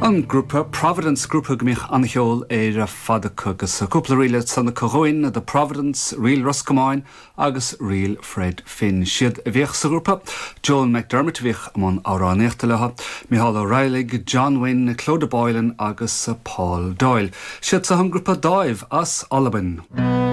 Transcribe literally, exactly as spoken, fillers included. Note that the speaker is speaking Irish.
An grúpa Providence grúpa go mbíodh an-cheol ar fad acu agus cúpla ríle ansan chugainn The Providence, Ríl Ros Comáin agus Ríl Fred Finn. Siad a bhíodh sa ghrúpa, Joan McDermott a bhíodh i mbun amhránaíochta leo, Micheál Ó Raghallaigh, John Wynne, Clodagh Boylan agus Paul Doyle. Siad seo an grúpa Dáimh as Albain.